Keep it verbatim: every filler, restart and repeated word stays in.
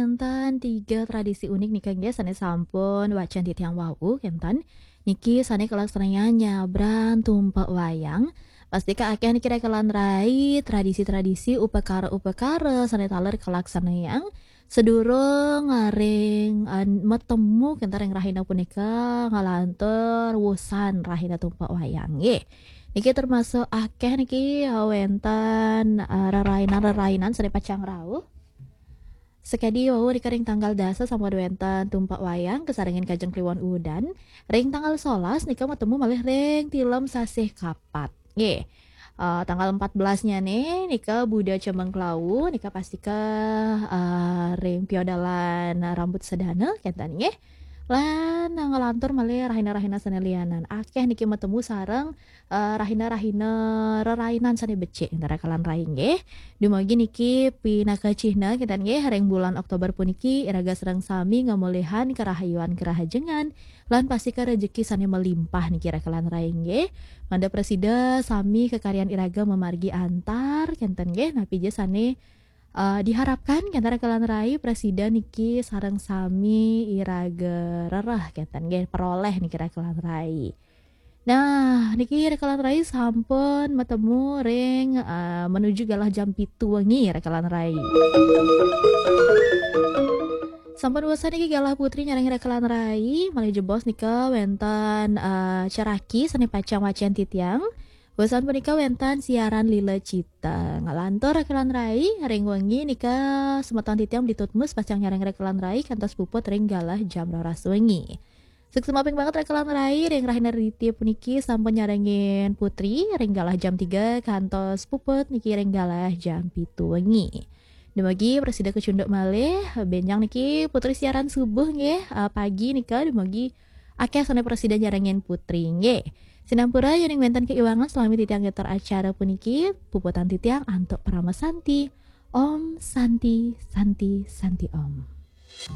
Wénten tiga tradisi unik nika nggih sané sampun wacén titiang wau kénten. Niki sané kalaksanayang nyabran tumpek wayang. Pastika akéh niki rekelan rai tradisi-tradisi upakara-upakara sané taler kalaksanayang sadurung ring, eh, matemu kénten ring rahina punika ngalantur wusan rahina tumpek wayang nggih. Niki termasuk akéh niki, eh, wénten, eh, rerainan-rerainan sané pacang rauh. Sakadi wau nika ring tanggal dasa sampun wénten tumpek wayang kasarengin Kajeng Kliwon Udan. Ring tanggal solas nika matemu malih ring tilem Sasih Kapat. Nggih. Eh, tanggal empat belas nyané nika Buda Cemeng Klawu nika pastika, eh, ring piodalan Rambut Sedana kénten nggih. Lan ngalantur malih rahina-rahina sané lianan. Akéh niki matemu sareng eh, rahina-rahina rerainan sané becik ring rekelan rai nggih. Dumugi niki pinaka cihna kénten nggih ring bulan Oktober puniki iraga sareng sami ngamolihang karahayuan karahajengan lan pastika rejeki sané malimpah niki rekelan rai nggih. Mangda prasida sami kakaryan iraga mamargi antar kénten nggih napi ja sané eh, diharapkan kénten rekelan rai prasida niki sareng sami iraga rereh kénten nggih peroleh niki rekelan rai. Nah, niki rekelan rai sampun matemu ring, eh, menuju galah jam pitu wengi rekelan rai. Sampun wusan niki galah putri nyarengin rekelan rai, malih jebos nika wénten, eh, ceraki sané pacang wacén titiang. Wusan punika wénten siaran Lila Cita. Ngalantur rekelan rai, ring wengi nika semeton titiang Bli Tutmus pacang nyarengin rekelan rai kantos puput ring galah jam roras wengi. Suksma ping banget rekelan rai ring rahina Aditya puniki sampun nyarengin putri ring galah jam tiga kantos puput niki ring galah jam pitu wengi. Dumugi prasida kacunduk malih, bénjang niki putri siaran subuh nggih, eh, pagi nika dumugi akéh sané prasida nyarengin putri nggih. Sinampura yéning wénten kaiwangan salami titiang ngeter acara puniki, puputang titiang antuk parama santi. Om Santi, Santi, Santi Om.